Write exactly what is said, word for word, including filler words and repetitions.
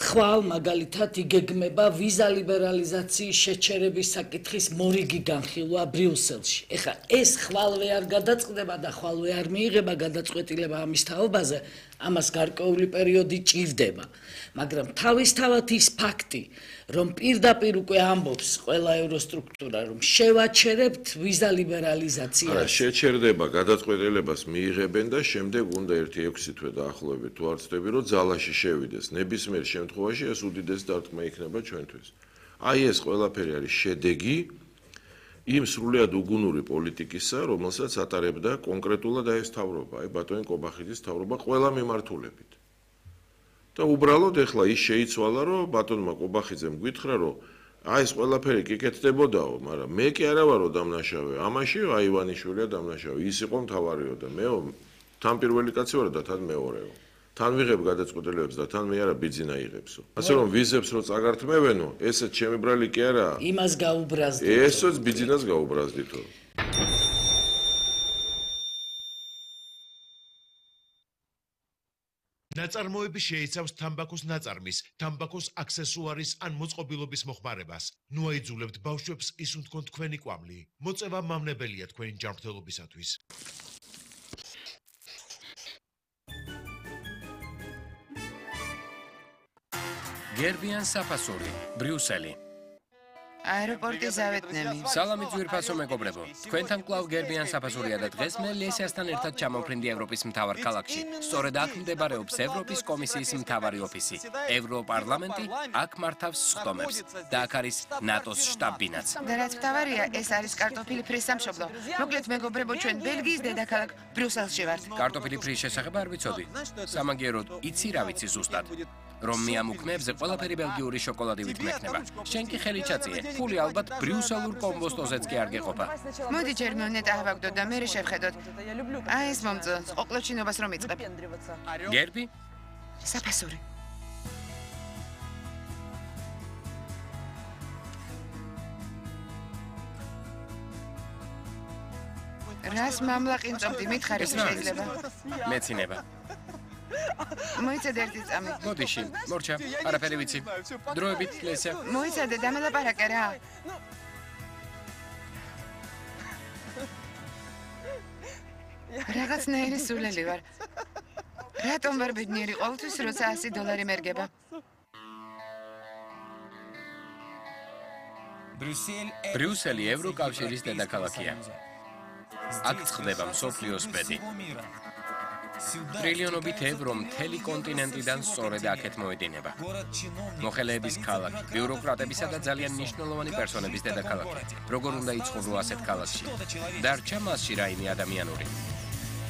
ხვალ მაგალითად იგეგმება ვიზა ლიბერალიზაციის შეჩერების საკითხის მორიგი განხილვა ბრიუსელში. ეხლა ეს ხვალვე არ გადაწყდება და ხვალვე არ მიიღება გადაწყვეტილება ამის თაობაზე, ამას გარკვეული პერიოდი ჭირდება. მაგრამ თავისთავად ის ფაქტი, რომ პირდაპირ უკვე ამბობს ყველა ევროსტრუქტურა, რომ შევაჩერებთ ვიზა ლიბერალიზაციას. არა, შეჩერდება, გადაწყვეტილებას მიიღებენ და შემდეგ უნდა ერთი ექვსი თვე დაახლოებით თუ არ ვცდები, რომ ძალაში შევიდეს. ნებისმიერ შემთხვევაში ეს უდიდესი დარტყმა იქნება ჩვენთვის. აი ეს ყველაფერი არის შედეგი იმ სრულიად უგუნური პოლიტიკისა, რომელსაც ატარებდა კონკრეტულად აი ეს მთავრობა, აი ბატონი კობახიძის მთავრობა ყველა მიმართულებით. და უბრალოდ ეხლა ის შეიცვალა, რომ ბატონმა კობახიძემ გითხრა, რომ აი ეს ყველაფერი კი კეთდებოდაო, მაგრამ მე კი არა ვარო დამნაშავე. ამაში აი ივანიშვილია დამნაშავე. ის იყო მთავარიო და მეო თან პირველი კაცი ვარ და თან მეორეო. თან ვიღებ გადაწყვეტილებებს და თან მე არა ბიძინა იღებსო. ასე რომ ვიზებს რო წაგართმევენო, ესეც ჩემი ბრალი კი არა. იმას გაუბრაზდით. ესეც ბიძინას გაუბრაზდითო. ნაწარმოები შეიცავს თამბაქოს ნაწარმის, თამბაქოს აქსესუარის ან მოწყობილობის მოხმარებას. ნუ აიძულებთ ბავშვებს ისუნთქონ თქვენი კვამლი. მოწევა მავნებელია თქვენი ჯანმრთელობისათვის. გერბიან საფასური, ბრიუსელი. აეროპორტი ზავეთნემი. სალამი ძვირფასო მეგობრებო. თქვენთან კვლავ გერბიან საფასურია და დღეს მე ლესიასთან ერთად ჩამოვფრინდი ევროპის მთავარ ქალაქში. სწორედ აქ მდებარეობს ევროპის კომისიის მთავარი ოფისი. ევროპარლამენტი აქ მართავს სხდომებს და აქ არის ნატოს შტაბ-ბინაც. და რაც მთავარია, ეს არის კარტოფილი ფრის სამშობლო. მოკლედ მეგობრებო, ჩვენ ბელგიის დედაქალაქ ბრიუსელში ვართ. კარტოფილი ფრის შესახებ არ ვიცოდი. სამაგიეროდ, იცი რა ვიცი ზუსტად. რომ მე ამ უქმეებზე ყველაფერი ბელგიური შოკოლადი ვითმექნება. შენ კი ხელი ჩაწიე. ფული ალბათ ბრიუსელურ კომბოსტოზეც კი არ გეყოფა. მოდი ჯერ მონეტა ავაგდოთ და მე შევხედოთ. აი ეს მომწო, ყოყლოჩინობას რომ იწყებ. გერბი? საფასური. რას მამლაყინწობდი, მითხარი შეიძლება. მეცინება. მოიცადე ერთი წამი. მოდიში, მორჩა, არაფერი ვიცი. დროებით, ლესია. მოიცადე, დამელაპარაკე რა. რაღაცნაირი სულელი ვარ. რატომ ვარ ბედნიერი ყოველთვის, როცა ასი დოლარი მერგება? ბრიუსელი ევროკავშირის დედაქალაქია. აქ წყდება მსოფლიოს ბედი. ტრილიონობით ევრო მთელი კონტინენტიდან სწორედ აქეთ მოედინება. მოხელეების ქალაქი, ბიუროკრატებისა და ძალიან მნიშვნელოვანი პერსონების დედაქალაქი. როგორ უნდა იცხოვრო ასეთ ქალაქში? დარჩა მასში რაიმე ადამიანური.